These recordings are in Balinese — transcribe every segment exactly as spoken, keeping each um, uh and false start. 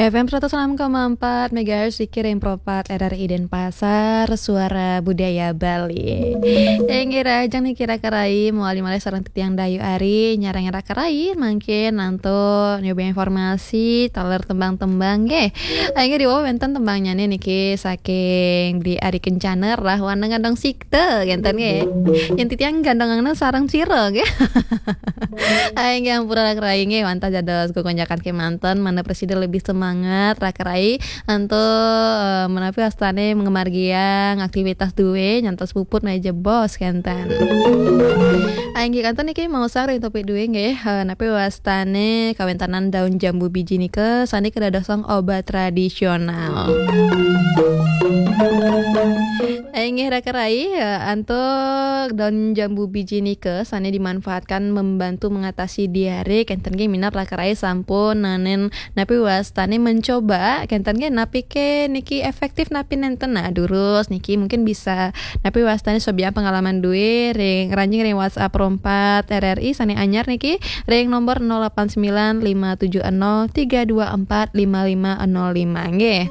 F M seratus enam koma empat megahertz, Riki ring Pro empat R R I Denpasar, Suara Budaya Bali. Inggih, rahajeng niki raka rai, mawali malih sareng titiang Dayu Ari, nyarengin raka rai, mangkin antuk nyobi informasi, taler tembang-tembang, nggih. Inggih, diwau wenten tembangnyané niki saking Bli Ari Kencana, Rahwana Ngandong Sikta, ngenten, nggih. Yén titiang gandongangna sareng sira, nggih. Inggih, ampura raka rai, nggih, wantah dados gegonjakan kémanten, mangda prasida lebih semangat, raka rai, antuk, eh, menapi wastané ngamargiang aktivitas dué, nyantos puput malih jebos, kénten. Inggih, kantun niki maosang ring topik dué, nggih, eh, napi wastané kawéntenan daun jambu biji nika sané kadadosang obat tradisional. Inggih, raka rai, eh, antuk daun jambu biji nika sané dimanfaatkan membantu mengatasi diare, kénten nggih, minab raka rai sampun nanin napi wastané mencoba, kénten nggih, napi ké niki efektif napi nénten. Nah, durus niki mungkin bisa napi wastané sobiahang pengalaman dué ring, ngranjing ring WhatsApp Pro empat R R I sané anyar niki ring nomor nol delapan sembilan lima tujuh nol tiga dua empat lima lima nol lima, nggih.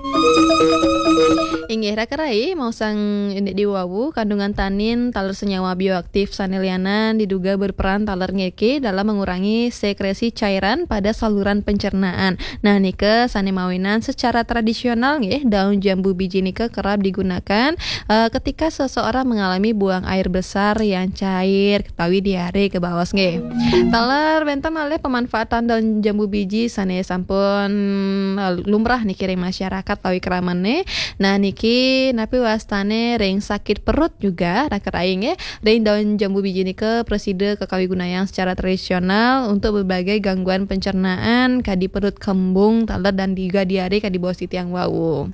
Inggih, raka rai, maosang indik diwawu, kandungan tanin taler senyawa bioaktif sané lianan diduga berperan taler niki dalam mengurangi sekresi cairan pada saluran pencernaan. Nah, nika sané mawinan secara tradisional, nggih, daun jambu biji nika kerap digunakan, eh, ketika seseorang mengalami buang air besar yang cair, utawi diare kabaos, nggih. Taler wénten malih pemanfaatan daun jambu biji sané sampun, eh, lumrah niki ring masyarakat utawi kramané. Nah, niki napi wastané ring sakit perut juga, raka rai, nggih. Ring daun jambu biji nika prasida kakawigunayang secara tradisional untuk berbagai gangguan pencernaan, kadi perut kembung, taler dan juga diare kadi baos titiang wau.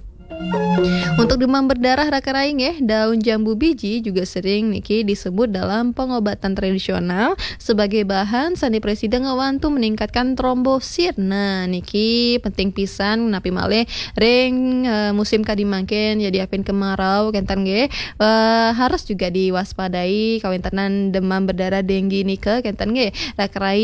Untuk demam berdarah, raka rai, nggih, daun jambu biji juga sering niki disebut dalam pengobatan tradisional sebagai bahan sané prasida ngwantu meningkatkan trombosit. Nah, niki penting pisan, napi malih ring, eh, musim kadi mangkin, ya, diapin kemarau, kénten, nggih. Eh, harus juga diwaspadai kawéntenan demam berdarah, denggi nika, kénten, nggih. Raka rai,